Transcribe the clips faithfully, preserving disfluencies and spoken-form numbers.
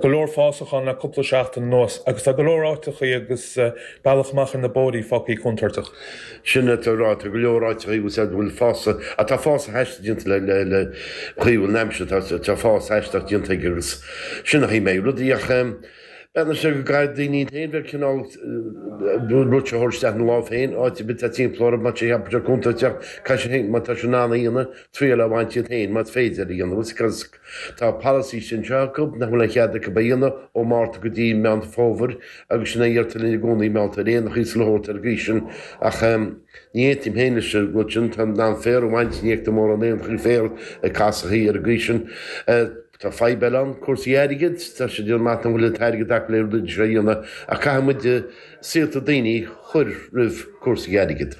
Go leor fásach ann le cúpla seachtain anuas agus tá go leor áiteachaí agus bealach amach ar na bóithrí fágtha contúirteach. Sin atá ráite, go leor áiteachaí agus a bhfuil fásach, atá fásach aisteach déanta le le le chaoi bhfuil an aimsir tá tá fás aisteach déanta aige agus sin a chaoi mé rudaí ach b'fhéidir sé go gcaithfidh daoine iad féin bheith cineál rud seo a thabhairt isteach ina lámh féin, áit ar bith atá timpeall orthu má tá sé cheapfá sé contúirteach caithfidh sé féin má tá sé in ann a dhéanamh triail a bhaint iad féin más féidir a dhéanamh agus Tá polasaí sin seo acu nach bhfuil aon chead acu a dhéanamh ó Márta go dtí Meán Fómhair agus sin é a dheirtear linn i gcónaí mealltar éanachaí is a leithéid ar an gcaoi sin ach ní aontaím féin leis an rud sin, tá in ann féar a bhaint, ní fheictear mórán éanachaí féar ag casachaí ar an gcaoi sin. Tá fadhb eile ann, cúrsaí airgid, tá sé déanamh amach nach bhfuil an t-airgead acu le rudaí seo a dhéanamh ach caithfidh muid saolta daoine a chur roimh cúrsaí airgid.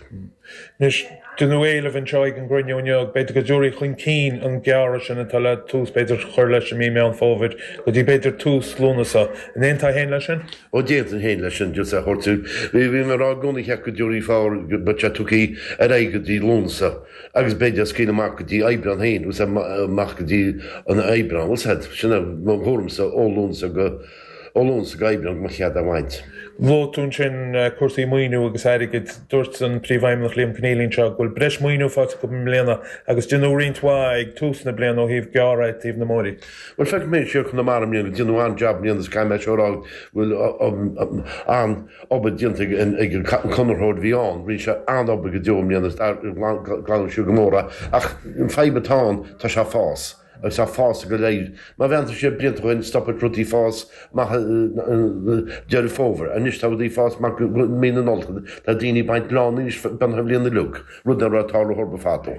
Anois, deineadh éileamh anseo ag an gcruinniú inniu, b'fhéidir go dtabharfaí chun cinn an gearradh sin atá le tús b'fhéidir chur leis i mí Meán Fómhair go dtí b'fhéidir tús Lúnasa. An aontófá féin leis sin? Ó d'aontóinn féin leis sin, just a thabhairt. Bhí bhí mé ag rá i gcónaí cheart go dtabharfaí fár go mbeadh sé tugtha ar aghaidh go dtí Lúnasa agus b'fhéidir scaoileadh amach go dtí Aibreán féin, bhfuil 's amach go dtí an Aibreán, bhfuil 's a'd, sin é mo thuairimse ó Lúnasa go. Ó Lúnasa go Aibreán go mbeadh cead á bhaint. Luaigh tú ansin cúrsaí maoiniú agus airgid. Dúirt an Príomhfheidhmeannach Liam Conneally anseo go bhfuil breis maoiniú faighte acu i mbliana agus deineadh roinnt mhaith ag tús na bliana ó thaobh gearradh ag taobh na mbóithrí. Bhuel feicfidh mé siar Conamara i mbliana go deineadh an-jab i mbliana is caithfidh mé seo a rá go bhfuil an-obair déanta ag an conraitheoir a bhí ann. Rinne sé an-obair go deo i mbliana is glanadh siar go mór é ach an fadhb atá ann tá sé ag fás. Agus tá fás go léir. Má bhreathnaíonn tú siar blianta ó shin stopfaidh rudaí fás amach Deireadh Fómhair. Anois tá rudaí fás amach go mí na Nollag. Tá daoine ag baint lánaí anois beagnach an bhliain uilig, rud nach raibh ag tarlú orthu fadó.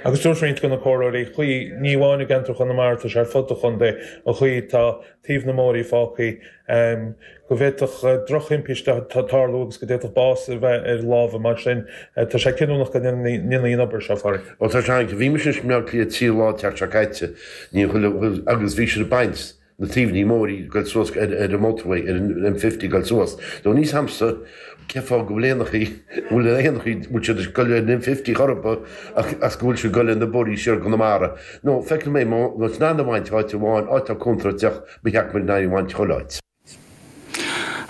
Agus dúirt roinnt de na comhairleoirí chaoi, ní amháin i gceantar Chonamara, tá sé ar fud an chontae, an chaoi atá taobh na mbóithrí fágtha, go bhféadfadh drochthimpiste tarlú agus go d'fhéadfadh bás a bheith ar lámha mar sin. Tá sé cinniúnach go ndéanfaí an obair seo, a Phádraig. Ó tá sé an, bhí mise i mBleá Cliath trí lá an tseachtain seo caite, ní chuile, agus bhí siad ag baint na taobhanna mbóithrí ag goil suas ar ar an motorway, ar an M fifty ag goil suas. Nó níl 's a'msa cén fáth go bhfuil éanachaí, bhfuil éanachaí, bhfuil siad ag goil ar an M fifty chor ar bith ach as go bhfuil siad ag goil ar na bóithrí siar go Conamara. Nó feicim é, má tá in ann a bhaint áit amháin, áit atá contúirteach, Ba cheart muid in ann a bhaint chuile áit.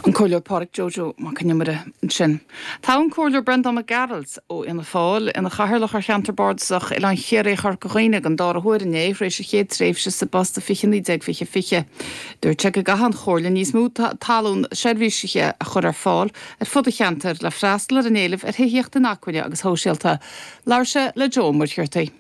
An Comhairleoir Pádraig Joe Joe Mac Con Iomaire ansin. Toghadh an Comhairleoir Breandán Mac Gearailt ó Fhianna Fáil ina chathaoirleach ar cheantar bardasach Oileán Chiarraí Chorca Dhuibhne don dara huair inné tar éis a chéad tréimhse sa bpost i fiche naoi déag fiche fiche. Dúirt sé go gcaithfidh an Chomhairle níos mó talún seirbhísithe a chur ar fáil ar fud an cheantair le freastal ar an éileamh ar thithíocht inacmhainne agus shóisialta. Labhair sé le Joe Ó Muircheartaigh.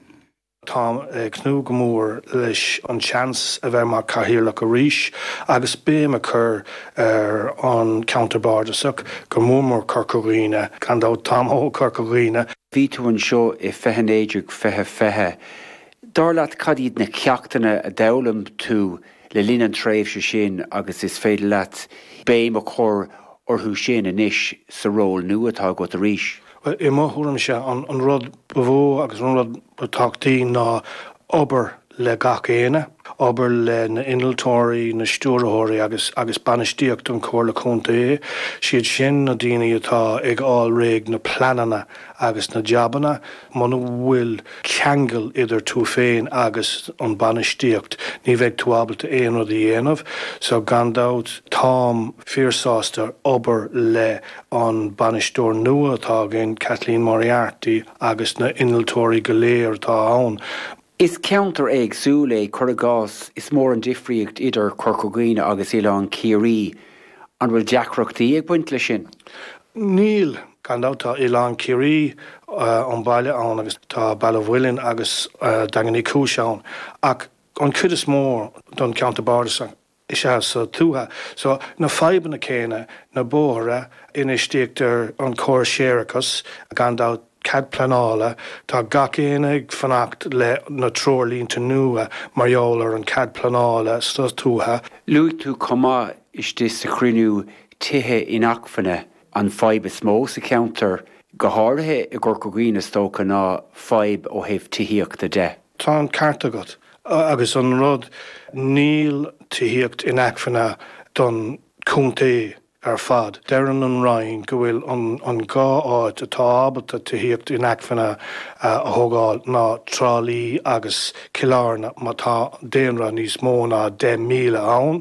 Táim ag tnúth go mór leis an seans a bheith mar Chathaoirleach arís agus béim a chur ar an cheantar bardasach, go mór mór Corca Dhuibhne. Gan dabht, táim ó Chorca Dhuibhne. Bhí tú anseo i fiche naoi déag fiche fiche. Dar leat cad iad na ceachtanna a d'fhoghlaim tú le linn an tréimhse sin agus is féidir leat béim a chur orthu sin anois sa ról nua atá agat arís? Bhuel, i mo thuairimse, an rud ba mhó agus an rud ba tábhachtaí ná obair le gach éinne, obair le na innealtóirí, na stiúrthóirí agus agus bainistíocht an Chomhairle Contae. Siad sin na daoine atá ag fháil réidh na pleananna agus na jabanna. Muna bhfuil ceangal idir tú féin agus an bainistíocht, ní bheidh tú ábalta aon rud a dhéanamh. So gan dabht, táim fíor-sásta obair le an bainisteoir nua atá againn, Kathleen Moriarty, agus na innealtóirí go léir atá ann. Is ceantar éagsúil é, cuir i gcás, is mór an difríocht idir Corca Dhuibhne agus Oileán Ciarraí. An bhfuil deacrachtaí ag baint leis sin? Níl. Gan dabht tá Oileán Ciarraí, an baile ann agus tá Baile Mhuilinn agus Daingean Uí Chúis ann ach an chuid is mó don cheantar bardasach, is ea sa tuath. So, na fadhbanna céanna, na bóithre, infheistíocht ar an chóras séarachais, gan dabht, cead pleanála, tá gach éinne ag fanacht le na treoirlínte nua mar gheall ar an cead pleanála sa tuath. Luaigh tú chomh maith istigh sa chruinniú tithe inacmhainne, an fadhb is mó sa cheantar, go háirithe i gCorca Dhuibhne is dócha, ná fadhb ó thaobh tithíochta de. Tá an ceart agat. Agus an rud, níl tithíocht inacmhainne don chontae ar fad. Deireann an Roinn go bhfuil an an dhá áit atá ábalta tithíocht inacmhainne a thógáil ná Trá Lí agus Cill Airne má tá daonra níos mó ná deich míle ann.